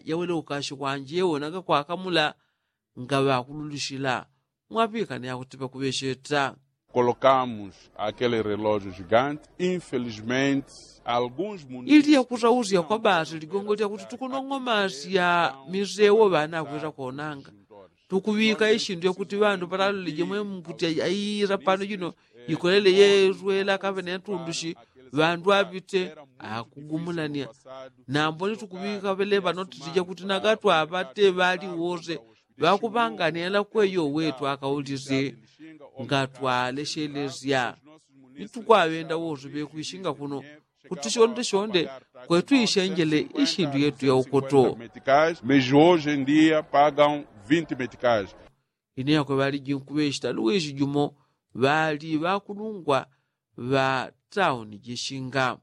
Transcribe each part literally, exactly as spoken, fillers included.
yawele ukashi kwanje wonaga kwakamula ngaŵakululusila. Mwapikane yakuti pakuŵesheta. Kolokamus akele relojo jigante infelizmente alguns muntu ili yakusausya kwa basi ligongo lyakuti tukunong'omasya misewo ŵana akwisa konanga tukuŵika ishindu yakuti ŵandu palalule jemwe mkuti aiyira pano jino ikolele yeswela kaŵene yatundushi ŵandu aŵite akugumulanya. Nambo ni tukuŵika ŵeleva notiti jakuti nagatwaŵate ŵali wose ŵakuŵangania lakweyo wetu akaulisye ngatwaleshelesya. Ni tukwaŵenda wose ŵekwishinga kuno kuti shonde shonde kwetu ishenjele ishindu yetu yaukoto. Meji hoje em dia pagam vinte meticais. Ine yakwe ŵaliji nkuŵeshita luwishi jumo ŵali ŵakulungwa ŵa tauni jeshinga.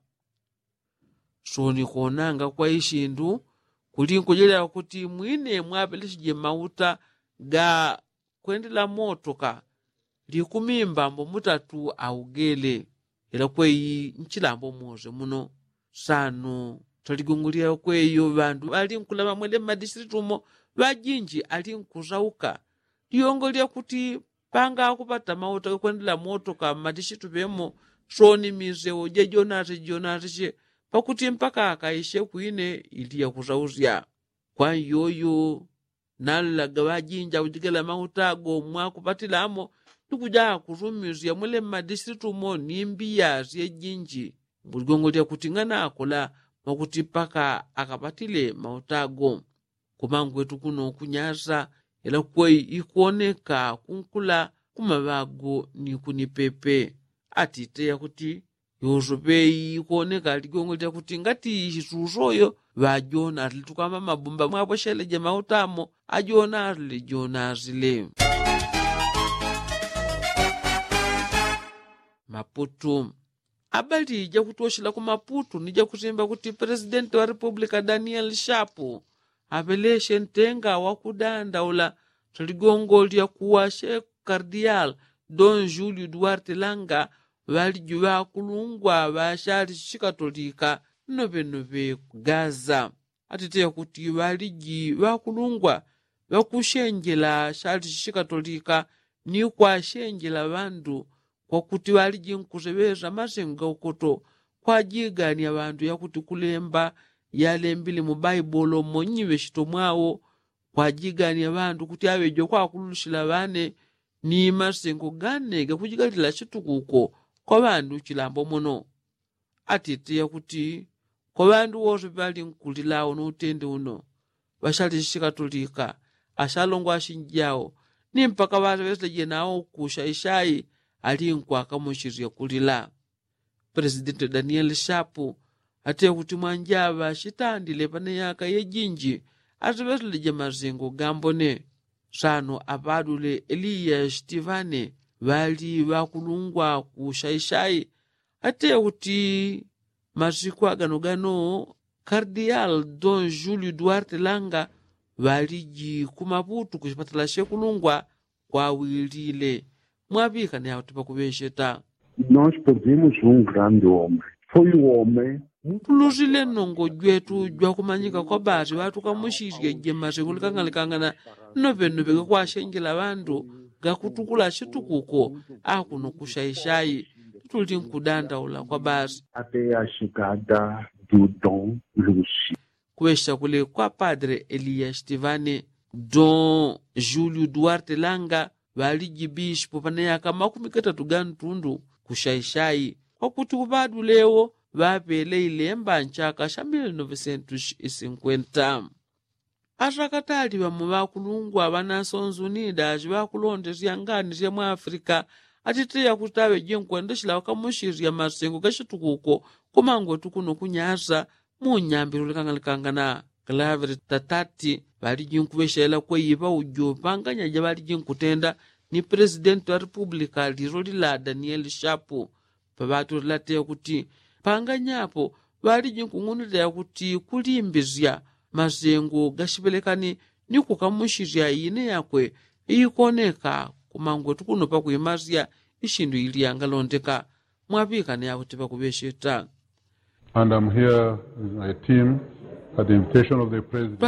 Soni konanga kwa ishindu kuli nkujelya kuti mwine mwaŵeleshije mauta ga kwendela motoka likumi mbambo mutatu augele. Ila kweyi nchilambo mose muno sano taligongolya kweyo ŵandu ŵali nkulama mwele mmadisilitu mo ŵajinji ali nkusauka. Liyongo lyakuti panga akupata mauta gakwendela motoka mmadisilitu ŵemo soni misewo jejonase jonase she pakuti mpaka akaishe kwine ili yakusausya. Kwa iyoyo nalaga ŵajinja kujigela mauta ago mwakupatila amo ni kuja kusumisya mwele mmadisilitu mo ni mbiya syejinji. Mbuligongo lyakuti ng'anakola mwakuti mpaka akapatile mauta ago. Kumangwetu kuno kunyasa ila kwei ikoneka kunkula kumaŵago ni kunipepe. Atite yakuti yosope ikoneka ligongo lyakuti ngati isusoyo ŵajonasile tukwamba mabumba mwapwesheleje mauta amo ajonasile jonasile. Maputu. Abali jakutoshela ku maputu ni jakusimba kuti presidenti wa republika daniel shapu aŵeleshe ntenga wakudandaula taligongo lyakuwashe kardial don julio duarte langa ŵaliji ŵakulungwa ŵashali shikatolika nnoŵenoŵe ku gaza. Atiteya kuti ŵaliji ŵakulungwa ŵakushenjela shali shikatolika ni kwashenjela ŵandu kwakuti ŵaliji nkuseŵesa masengo gaukoto kwajigania ŵandu yakuti kulemba yalembile mu baibolo monyiŵe shito mwao kwajigania ŵandu kuti aŵejo kwakululushila ŵane ni masengo gane gakujigalila shitukuko kwa ŵandu chilambo mono. Atite yakuti kwa ŵandu wose ŵali nkulila uno utende uno ŵashali shikatolika ashalongwa ashinjao ni mpaka ŵaŵeseleje nao kushaishai ali nkwakamushisya kulila. Presidenti daniel shapu atite kuti mwanjaŵa shitandile pane yaka yejinji aŵeseleje masengo gambone. Sano aŵadule eliya shitivane ŵali ŵakulungwa kushaishai atite kuti masiku aganogano kardial don julio duarte langa ŵaliji kumaputu kushipatala shekulungwa kwawilile. Mwaŵikane yauti pakuŵesheta. Nos perdimos un grande hombre. Foi u hombre. Tulusile nnongo jwetu jwakumanyika kwa basi ŵatukamushisye jemase kulikangalikangana nnoŵenoŵe gakwashenjela ŵandu gakutukula shitukuko akuno kushaishai. Tuli nkudandaula kwa basi. Até a chegada do don lushi. Kuŵesha kule kwa padre eliya shitivane don julio duarte langa ŵaliji bishipo pane yaka makumi gatatu ga ntundu kushaishai kwakuti uŵadulewo ŵaŵele ilemba nchaka sha mili novesentushi isinkwenta. Asakatali ŵamo ŵakulungwa ŵanasonzunida shiŵakulondesya ngani sya mwafrika atite yakuti aŵeje nkwendeshela ŵakamushisya masengo gashitukuko kumangwetu kuno kunyasa munyambilo likangalikangana kalaŵele tatati ŵaliji nkuŵeshelela kweyi ŵaujo ŵanganyaja ŵaliji nkutenda ni presidenti wa republika lilo lila daniel shapu. Paŵatulila teya kuti panganyapo ŵaliji nkung'unulila yakuti kulimbisya masengo gashiŵelekani ni kukamushisya ine yakwe iikoneka kumangwetu kuno pakwimasya ishindu ili yangalondeka. Mwaŵikane yakuti ŵakuŵesheta. And am here with my team. At the invitation of the president.